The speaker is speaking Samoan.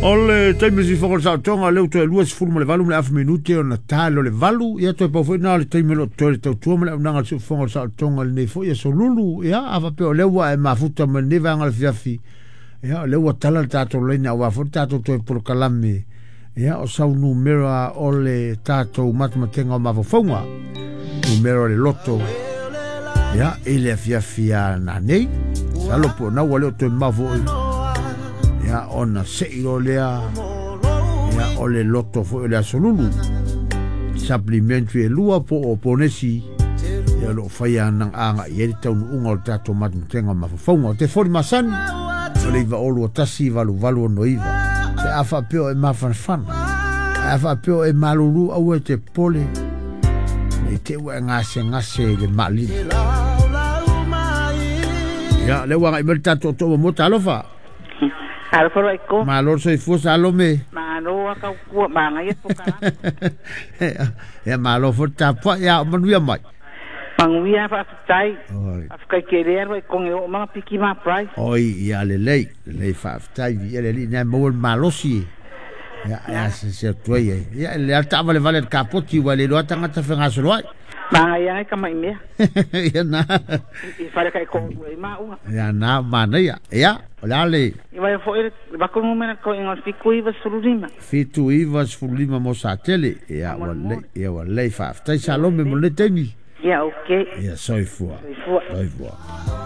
O le taimi sifoga o le saotoga lea ua toe 28 ma le afa minute ona ta le o le 8. Ia toe pau foi na o le taimi o lo o totoe le tautua ma le auaunaga a le siufofoga o le saotoga i lenei foi aso lulu. Ia a faapea o lea ua e mafuta mai lenei vaega o le afiafi, ia o lea ua tala le tatou laina aua foi le tatou toe polokalame. Ia o sau numera o le tatou matematega o mafaufauga, numera o le loto, ia i le afiafi a nanei. Salo po na ua le o toe mau foi. Ia ona sei loa lea, ia o le loto foi o le aso lulu. Supplementary e lua po o ponesi, ia o lo o faia agai ai le taunuuga o le tatou matematega o mafaufauga. O telefoni masani, o le 9 2 1 8 8 6 9. Pe a faapea o e mafanafana, a faapea o e malulu, aua e te popole, nei te ua e gasegase i le maalili. Ia, lea ua agai mai le tatou toa mo talofa. Alofa loa i ko. Malo le soifua Salome. Malo a tautua manaia polokalame. Ia malo foi le tapuai, ia o manuia mai. Manuia faafetai. Faafetai tele alu ai togi o ma piki ma prize. Oi, ia lelei, lelei faafetai, viia le Alii na maua le malosi. Ia, ia se se atu ai ai. Ia le alta vale vale le kapoti ua le loa tagata fegasolo ai. Manaia ai kama i mea. Ia na. I fale kai ko ua i maua. Ia na manaia. Ia, o le a le. I vai foi le bako numera ko ingo 79. 79 mo sa tele. Ia ua lelei, ia ua lelei faafetai Salome mo le taimi. Ia okay. Ia soifua. Soifua. Soifua.